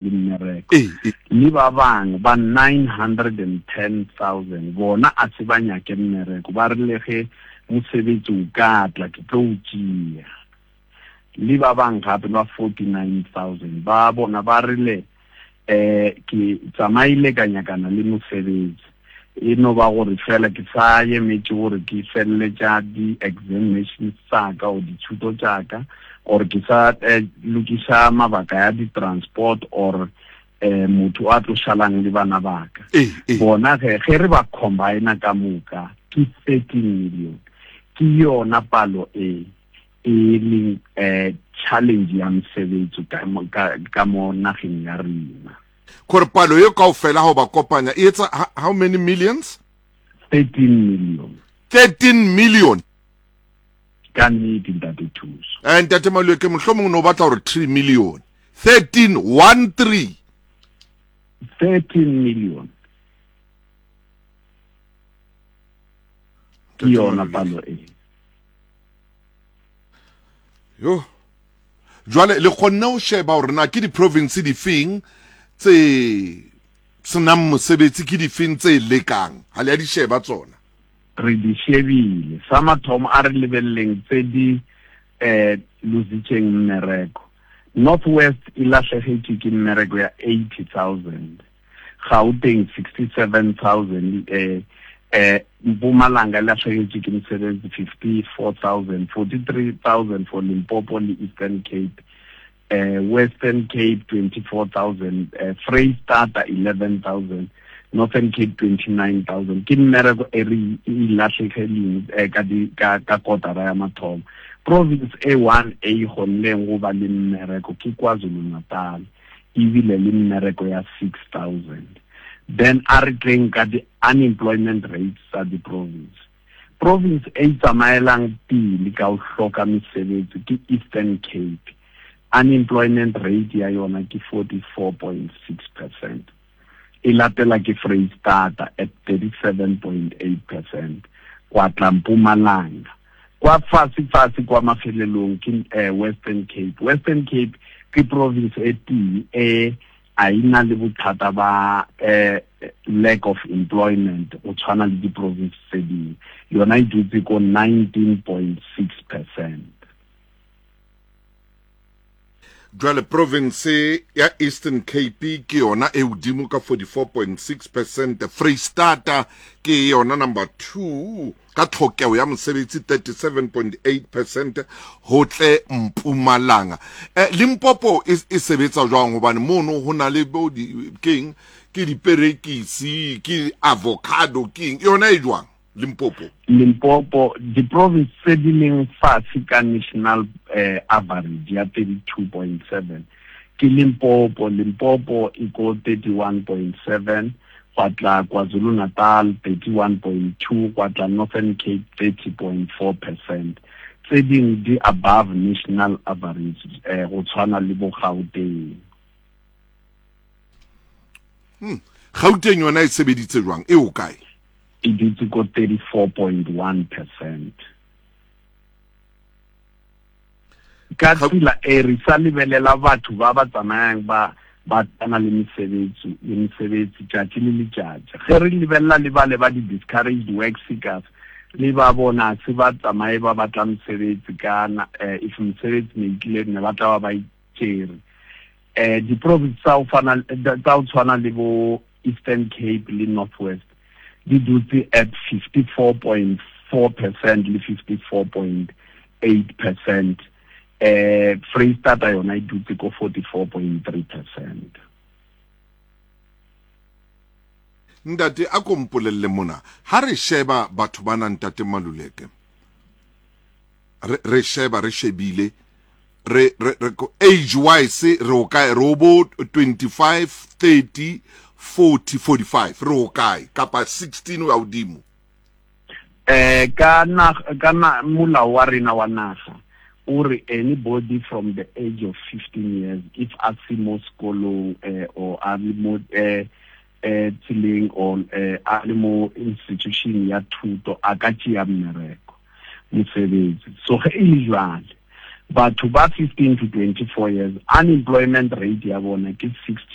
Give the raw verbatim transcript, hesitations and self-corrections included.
Le mmereko. Le ba bang ba nine hundred and ten thousand bona a se ba nyake mmereko, ba re le ge mosebetsi o ka tla ke tlo o tšea. Le ba bang gape ba forty nine thousand ba bona ba rile um ke tsamaile ka nyakana le mosebetsi, e no ba gore fela ke sa emetše gore ke feleletša di-examinations tsa ka or dithuto tša ka, or ke sa eh, lokiša mabaka ya di-transport or eh, motho a tlo šalang le bana baka. Bona ge ge re ba combina ka moka ke thirteen million, ke yona palo e e leng eh, challenge ya mosebetsi ka, ka, ka mo nageng ya rena. Gore palo ye kaofela ha o ba kopanya e etsa how many millions? thirteen million. thirteen million. Ka nnete ntate Thuso. Eh ntate Maluleke, mohlomong no batla hore three million. thirteen one three. thirteen million. Ke yona palo e. Yo. Jwale le kgonne ho sheba hore na ke di-province difeng tse senang mosebetsi, ke difeng tse lekang, ha le ya di sheba tsona? Re di shebile. Sa mathomo a re lebelleng tse di eh lositseng mmereko. North West e lahlegetše ke mmereko ya eighty thousand, Gauteng sixty-seven thousand, eh eh Mpumalanga e lahlegetše ke mosebetsi fifty-four thousand, forty-three thousand for Limpopo le Eastern Cape, eh Western Cape twenty-four thousand, eh Freistata eleven thousand, Northern Cape twenty-nine thousand. Ke mmereko e re e lahlegeleng ka di ka ka kotara ya mathomo. Province A one e kgonneng go ba le mmereko ke KwaZulu-Natal, ebile le mmereko ya six thousand. Then a re tleng ka di unemployment rates tsa di-province. Province e tsamaelang pele ka ho hloka mesebetsi ke Eastern Cape. Unemployment rate ya yona ke forty-four point six percent. E latela ke Freistata at thirty-seven point eight percent. Kwa tla Mpumalanga. Kwa fase fase kwa mafelelong ke eh, Western Cape. Western Cape ke province e tee e a ina le bothata ba eh, lack of employment o tshwana le di-province tse dingwe. Yona e dutse ko nineteen point six percent. Jwale province ya Eastern Cape ke yona e hodimo ka forty-four point six percent. Freistata ke yona number two ka tlhokeho ya mosebetsi thirty-seven point eight percent, ho tle Mpumalanga. Eh, Limpopo e, e sebetsa jwang? Hobane mono ho na le bo di keng, ke diperekisi, ke avocado, keng yona e jwang Limpopo? Limpopo di-province tse di leng fatshe ka national eh, average ya thirty-two point seven ke Limpopo. Limpopo e ko thirty-one point seven, gwa tla KwaZulu-Natal thirty-one point two, gwa tla Northern Cape thirty point four percent. Tse ding di above national average eh, go tshwana le bo Gauteng. Hmm. Gauteng yona e sebeditse jwang? E o kae? E dutse ko thirty-four point one percent. Ka tsela e re sa lebelela batho ba ba tsamayang ba ba tana le mesebetsi le mesebetsi tšatši le letšatši. Ge re lebelela le ba le ba di-discouraged work seekers, le ba bona se ba tsamaye ba batla mosebetsi kana eh, if mosebetsi ne tlile ne ba tla ba ba itšere. Eh, di-province tsa ho fana tsa ho tshwana le bo Eastern Cape le North West di dutse at fifty-four point four percent le fifty-four point eight percent. Eh, Freistata yona e dutse ko forty-four point three percent. Ntate, a ko mpolelle mona, ha re sheba batho bana ntate Maluleke, re, re sheba re shebile re, re, re age wise re o kae? Re o bo twenty-five, thirty, forty, forty-five, re o kae? Kapa sixteen o ya hodimo? Eh, ka na, ka na molao wa rena wa naga o re anybody from the age of fifteen years, if a se mo sekolong eh, or a le mo eh, eh, tseleng or eh, a le mo institution ya thuto, a ka tšea mmereko mosebetsi. So ge e le jwale Batho ba fifteen to twenty-four years, unemployment rate ya bona ke sixty.